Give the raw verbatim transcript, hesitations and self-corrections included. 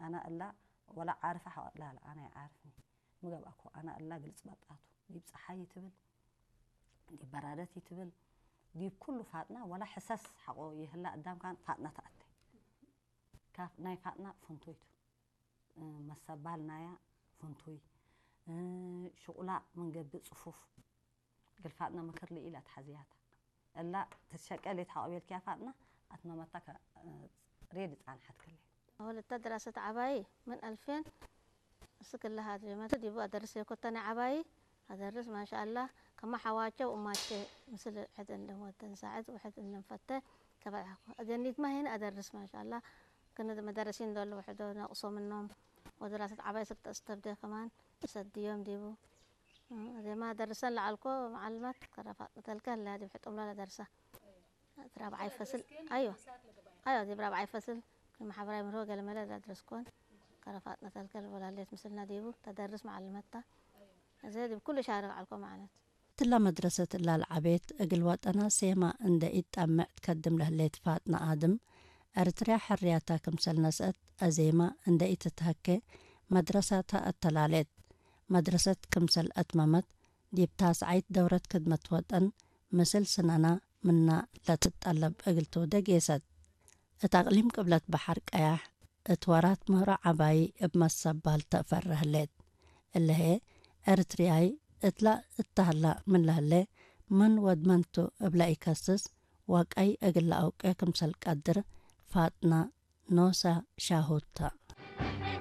አነ እላ ወለ ዓርፈ ሐቆ ላለ አነ ይዓርፍኒ። ሚ ገብአኮ አነ እላ ግልጽ በጣቱ። ዲብ ጸሓይ ይትብል፣ ዲብ በራደት ይትብል፣ ዲብ ኩሉ ፋጥና ወለ ሕሰስ ሐቆ ይህላ አዳም ካን ፋጥና ተአቴ። ካፍ ናይ ፋጥና ፍንቱይ ቱ። መሰባል ናያ ፍንቱይ። ሽቁላ ምን ገብእ ጽፉፍ። እግል ፋጥና ምክር ልኢለ አትሐዝያታ። እላ ትትሸቄ ሌት ሐቆ ቤልክያ ፋጥና አትመመታ ከ-፣ ሬድ ጻንሐት ክሌ። አወለተ ድራሰት ዐባይ ምን አልፌን እስክ እለ ሀድሬ መቱ ዲቡ አደርስ የኮተነ ዐባይ አደርስ ማሻአላህ ከመ ሐዋቼ ወእማቼ ምስል ሕድ እንለም ወደን ሳዕድ ወሕድ እንለም ፈተ ከበልሐኩ። አጀኒትመ ሄን አደርስ ማሻአላህ ክነ መደረሲን ዶል ወሕዶ ነቅሶ ምኖም ወድራሰት ዐባይ ስክ ተአስተብደ ከማን እሰድዮም ዲቡ። እም፣ እዜማ ደርሰን ለዐልኮ መዓልመት ከረ ፋጥነ ተልከ ህለ ዲብ ሕጡምለ ለደርሰ። እት ራብዓይ ፈስል፣ አይወ፣ አይወ፣ ዲብ ራብዓይ ፈስል ክም ሐብራይ ምርሆ ገለመለ ለአድረስኮን ከረ ፋጥነ ተልከ ልቦላሌት ምስልነ ዲቡ ተደርስ መዓልመት ተ። እዜ ዲብ ኩሉ ሻርክ ዐልኮ መዓለት። እትለ መድረሰት እላ ለዐቤት እግል ወጠና ሴማ እንደ ኢትጠምዕ ትከድም ለህሌት ፋጥነ አድም፣ ኤረትርያ ሕርያታ ክምሰል ነስአት አዜማ እንደ ኢትትሀኬ መድረሳታ አተላሌት። መድረሰት ክምሰል አትመመት፣ ዲብ ታስዓይት ደውረት ክድመት ወጠን ምስል ስነና ምና ለትጠለብ እግል ትውደ ጌሰት። እት አቅሊም ቅብለት በሐር ቀያሕ እት ወራት ምህሮ ዐባዪ እብ መሰባል ተአፈረ ህሌት። እለ ህዬ፣ ኤረትርያይ እትላ እተህላ ምን ለህሌ፣ ምን ወድ መን ቱ እብ ለኢከስስ ወቀይ እግል ለአውቄ ክምሰል ቀድር ፋጥና ኖሰ ሻሁድ ተ።